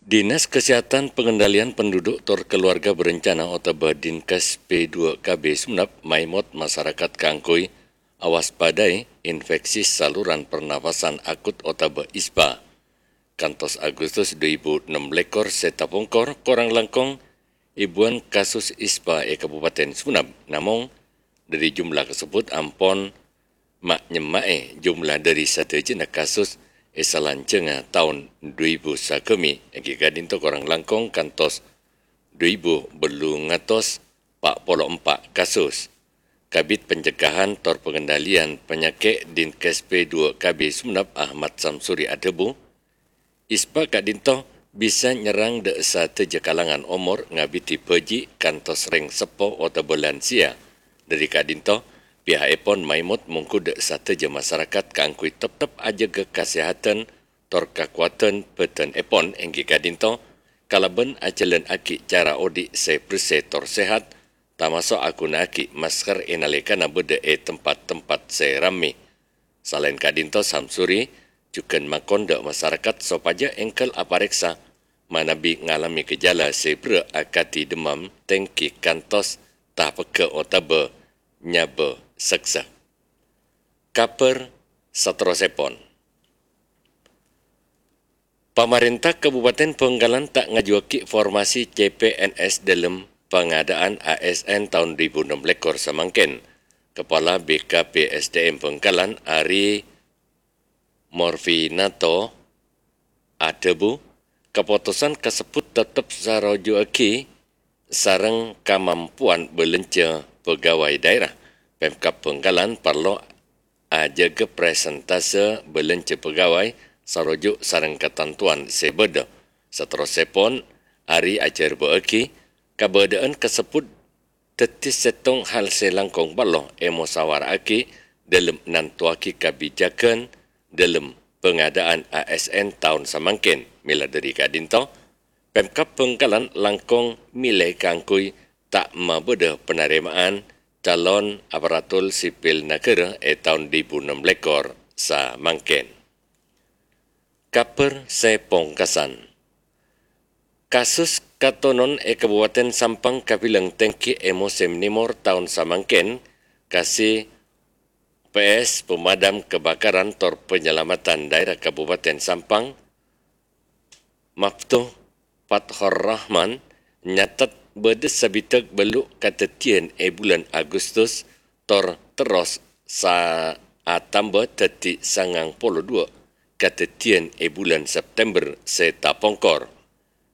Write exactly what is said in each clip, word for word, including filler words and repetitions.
Dinas Kesehatan Pengendalian Penduduk tor Keluarga Berencana otabâ Dinkes P dua K B Sumenep maèmot masarakat kaangghuy awaspadai infeksi saluran pernafasan akut otabâ ISPA. Kantos Agustus dhu èbu ennem lèkor sè tapongkor, korang langkong èbuwân kasus ISPA è Kabupaten Sumenep. Namong, dhâri jumlah kasebbhut ampon ma'-nyemma'è jumlah dhâri sadhâjâna kasus è salanjhângnga taon dhu èbu sagâmè, èngghi ka'dinto korang langkong kantos dhu èbu bâllung atos pa' polo empa' kasus. Kabid Pencegahan tor Pengendalian Panyakè' Dinkes P dua K B Sumenep Ahmad Samsuri adhâbu, ISPA ka'dinto bisa nyerrang dhâ' sadhâjâ kalangan omor ngabidhi bhâji' kantos rèng seppo otabâ lansia. Dhâri ka'dinto, piha'èpon maèmot mongghu dhâ' sadhâjâ masarakat kaangghuy teptep ajâgâ kasèhadhân tor kakowadhân bhâdhânèpon, èngghi ka'dinto kalabân ajhâlânnaghi cara odi' sè bersè tor sehat, tamaso' aghunaaghi masker è nalèkana bâdâ è tempat-tempat sè rammè. Salaèn ka'dinto, Samsuri jhughân makon dhâ' masarakat sopajâ èngghâl aparèksa manabi ngalamè gejala sè berrâ' akadhi demam tèngghi kantos tapegghâ' otabâ nyabâ seksa. Kabhâr saterrossèpon. Pamarènta Kabupaten Bhângkalan ta' ngajuwâghi formasi C P N S dhâlem pangadâ'ân A S N taon dhu èbu ennem lèkor samangkèn. Kepala B K P S D M Bhângkalan, Ari Morfinato, adhâbu, kapotosan kasebbhut teptep sarojuwâghi sareng kamampowan bâlânjhâ pegawai dhaèra. Pemkab Bhângkalan parlo ajâgâ presentase bâlânjhâ pegawai saroju' sareng katantowan sè bâdâ. Saterrossèpon, Ari ajhârbâ'âghi kabâdâ'ân kasebbhut dhâddhi sèttong hal sè langkong parlo èmosawara'aghi dhâlem nantowaghi kabijjhâghân dhâlem pangadâ'ân A S N taon samangkèn. Mèla dhâri ka'dinto, Pemkab Bhângkalan langkong mèlè kaangghuy ta' mabâdâ panarèma'an calon aparatur sipil naghârâ è taon dhu èbu ennem lèkor samangkèn. Kabhâr sè pongkasan. Kasus katonon è Kabupaten Sampang kabilang tèngghi è mosèm nèmor taon samangkèn, kasi P S Pemadam Kebakaran tor Penyelamatan Daerah Kabupaten Sampang, Maftuh Fathor Rahman, nyatet bâdâ sabidhâk bâllu' kadhâddhiyân è bulân Agustus tor terros sa-, atamba dhâddhi sangang polo duwâ' kadhâddhiyân è bulân September sè tapongkor.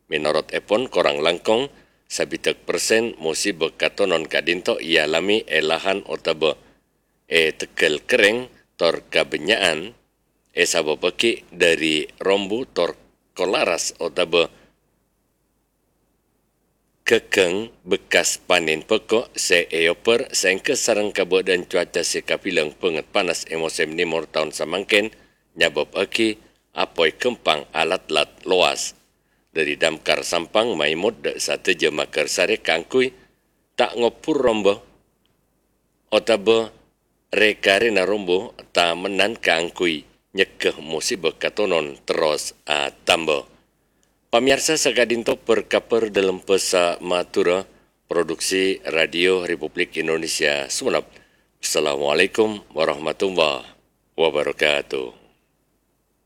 Mènorot èpon, korang langkong sabidhâk persen mosiba katonon ka'dinto èalamè è lahan otabâ è tegghâl kerrèng tor kabânnya'an èsabâbbhâghi dhâri rombu tor kolaras otabâ ghâghâng bekkas panèn bhâko' sè èobbhâr saèngghâ sareng kabâdâ'ân cuaca sè kabilang bângèt panas è mosèm nèmor taon samangkèn nyabâbbhâghi apoy ghâmpang alat-lat lowas. Dhâri Damkar Sampang maèmot dhâ' sadhâjâ maghârsarè kaangghuy ta' ngobbhur romba otabâ rè-karèna rombu tamennan kaangghuy nyegghâ mosiba katonon terros atamba. Pamèyarsa, saka'dinto per-kabhâr dhâlem bhâsa Madhurâ, produksi Radio Republik Indonesia Sumenep. Assalamualaikum warahmatullahi wabarakatuh.